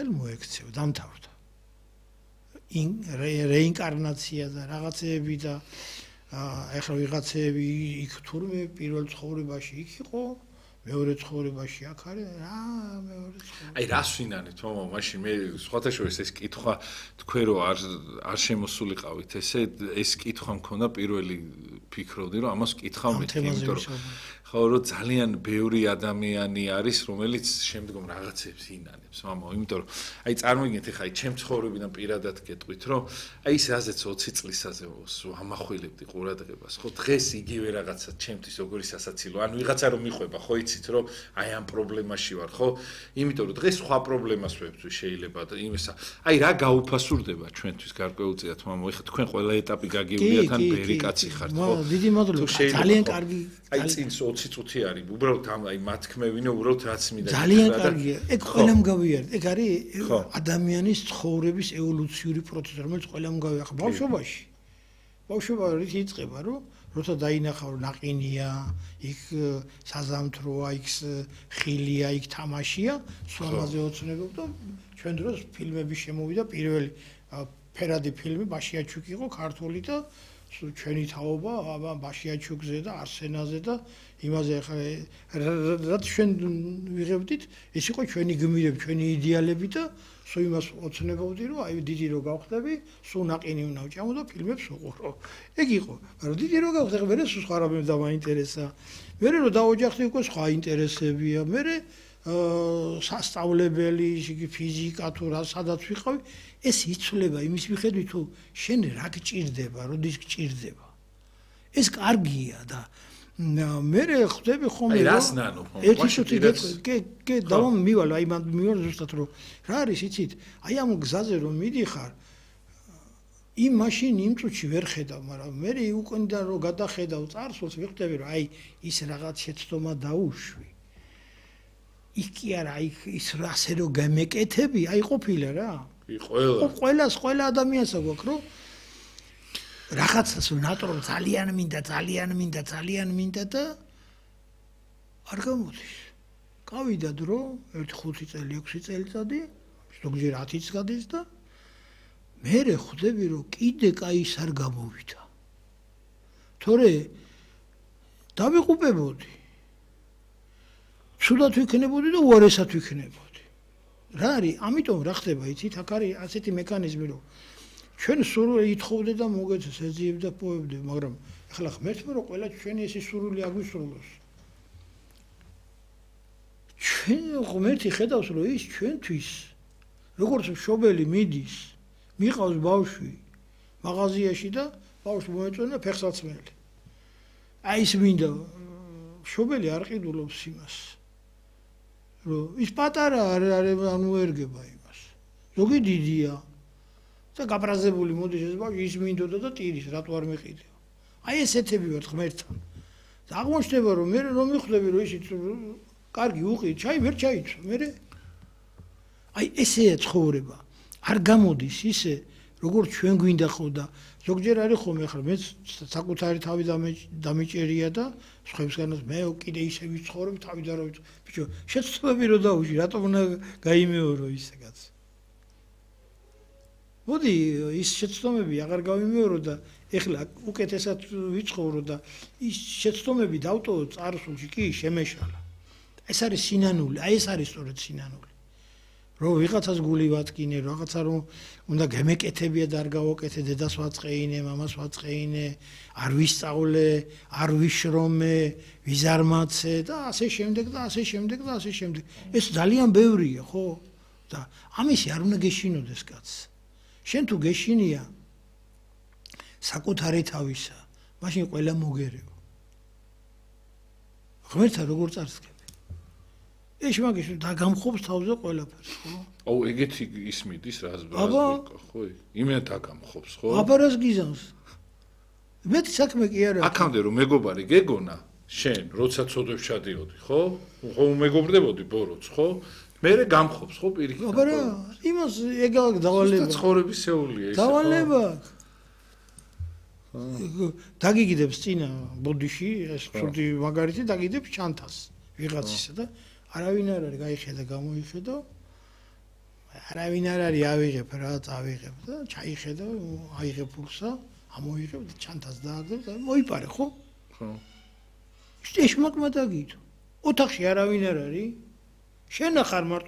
ხელ მოექცევა, დამთავრდა. რეინკარნაცია და რაღაცეები და ეხლა ვიღაცეები იქ თურმე პირველ ცხოვრებაში იქ იყო, მეორე ცხოვრებაში აქ არის, რა მეორე ცხოვრება. აი რას ვინანით, მამა, მაშინ მე სხვათა შორის ეს კითხვა თქვენ რო არ შემოსულიყავით, ეს კითხვა მქონდა პირველი ფიქრობდი რომ ამას კითხავ მეთქი, იმიტომ რომ ხო რომ ძალიან ბევრი ადამიანი არის, რომელიც შემდგომ რაღაცებს ინანებს, მამა, იმიტომ რომ აი წარმოგიდგენთ ხა აი ჩემ ცხოვრებიდან პირადად გეტყვით, რომ აი ის რაზეც 20 წლისაზე ამახვილებდი ყურადღებას, ხო დღეს იგივე რაღაცა ჩემთვის როგორი სასაცილო, ან ვიღაცა რომ მიხვება, ხო იცით რომ აი ამ პრობლემაში ვარ, ხო? იმიტომ რომ დღეს სხვა პრობლემას ვებძვი შეიძლება და იმისა. აი რა გაუფასურდება ჩვენთვის გარკვეულწილად, მამა, ეხლა თქვენ ყველა ეტაპი გაგიულიათ ან ბერი კაცი ხართ, ხო? დიდი მადლობა. ძალიან კარგი. აი წინ 20 წუთი არის, უბრალოდ აი მათქმევინო, უბრალოდ რაც მინდა. ძალიან კარგია. ეგ ყველამ გავიარეთ. ეგ არის ადამიანის ცხოვრების ევოლუციური პროცესი, რომელიც ყველამ გავიარეთ. ბავშვობაში. ბავშვობაში იწყება, რომ როცა დაინახავ ნაყინია, იქ საზამთროა, იქ ხილია, იქ თამაშია, სულამაზე ოცნებობ და ჩვენ დროს ფილმები შემოვიდა, პირველი ფერადი ფილმი ბაშიაჩუკ იყო ქართული და ჩვენი თაობა აბა ბაშიაჩუკზე და არსენაზე და იმაზე ახლა რაც ჩვენ ვიღებდით, ეს იყო ჩვენი გმირები, ჩვენი იდეალები და სულ იმას ოცნებობდი, რომ აი დიდი რო გავხდები, სულ ნაყინი უნდა ვჭამო და ფილმებს ვუყურო. ეგ იყო. მაგრამ დიდი რო გავხდები, მე სულ სხვა რამე დამაინტერესა. მე რო დაოჯახდი უკვე სხვა ინტერესებია. მე სასწავლებელი, ფიზიკა თუ რა სადაც ვიყავი, ეს იცვლება იმის მიხედვით, თუ შენ რა გჭირდება, როდის გჭირდება. ეს კარგია და მე ხვდები ხოლმე აი რას ნანო ერთი შუთი გე დავამივალ აი მივალ ზუსტად რომ რა არის იცით აი ამ გზაზე რომ მიდიხარ იმ მაშინ იმ წუთში ვერ ხედავ მაგრამ მე უკონდა რომ გადახედავ წარსულს ვიხდები რომ აი ის რაღაც შეცდომა დაუშვი იქ კი არა აი ის ასე რომ გამეკეთები აი ყოფილა რა ყველა ადამიანს აქვს რომ რაღაცას ნატურალ ძალიან მინდა და არ გამოდის. გავიდა დრო, 1 5 წელი, 6 წელიწადი, ზოგჯერ 10-იც გადის და მე ხვდები რომ კიდე კაი ის არ გამოვიდა. თორე დავიყუპებოდი. ცუდად ვიქნებოდი და უარესად ვიქნებოდი. რა არის? ამიტომ რა ხდება, იცით, აქ არის ასეთი მექანიზმი რომ ჩვენ სურვილი ითხოვდე და მოგეცეს ეძიებ და პოებდე, მაგრამ ახლა ღმერთმა რომ ყველა ჩვენი ეს სურვილი აგვისრულოს. ჩვენ ღმერთი ხედავს რომ ის ჩვენთვის როგორც მშობელი მიდის, მიყავს ბავშვი მაღაზიაში და ბავშვი მოეწონა ფეხსაცმელი. აი ის მინდა მშობელი არ ყიდულობს იმას. რომ ის პატარა არ მოერგება იმას. ზოგი დიდია და გაბრაზებული მოდის ეს ბავშვი ის მინდოდა და ტირის რატო არ მეყიდეო აი ესეთები ვართ ღმერთთან და აღმოჩნდება რომ მე რომ მიხვდები რომ ისიც კარგი უყი ჩაი ვერ ჩაიცვა მე აი ესეა ცხოვრება არ გამოდის ისე როგორც ჩვენ გვინდა ხო და ზოგჯერ არის ხოლმე ახლა მე საკუთარი თავი დამიჭერია და სხვებსგანაც მე კიდე ისე ვიცხოვრობ თავი და რომ ბიჭო შეცდომები რო დაუში რატომ უნდა გაიმეორო ისეგაც მოდი ის შეცდომები აღარ გავიმეორო და ეხლა უკეთესად ვიცხოვრო და ის შეცდომები დავტოვო წარსულში კი შემეშალა. ეს არის სინანული, აი ეს არის სწორედ სინანული. რომ ვიღაცას გული ვატკინე, რაღაცა რომ უნდა გემეკეთებია და არ გავაკეთე, დედას ვაწყეინე, მამას ვაწყეინე, არ ვისწავლე, არ ვიშრომე, ვიზარმაცე და ასე შემდეგ და ასე შემდეგ და ასე შემდეგ. ეს ძალიან ბევრია, ხო? და ამისი არ უნდა გეშინოდეს კაცს. შენ თუ გეშინია საკუთარი თავისა, მაშინ ყველა მოგერეო. ღმერთა როგორ წარსდგები? ეს მაგის დაგამხობს თავზე ყველაფერს, ხო? აუ, ეგეთი ის მიდის რას ბრაზ ხო? იმენ დაგამხობს, ხო? აბა რას გიზამს? მეტი საქმე კი არა. აქამდე რომ მეგობარი გეგონა, შენ როცა წოდებს ჩადიოდი, ხო? ხო მეგობრდებოდი ბოროც, ხო? მერე გამხობს, ხო პირიქით? აბა რა, იმას ეგალ დავალება. ცხოვრების შეუულია ეს. დავალება. დაგიგიდებს წინა ბოდიში, ეს ცუდი მაგარითი დაგიდებს ჩანთას ვიღაცისა და არავინ არ არის გაიხედა გამოიხედო არავინ არ არის ავიღებ რა, წავიღებ და ჩაიხედა, აიღებ ფულსა, ამოიღებ და ჩანთას დააგდებ და მოიპარე, ხო? ხო. ეს მოკმა დაგიდო. ოთახში არავინ არ არის. შენ ახარ მარტო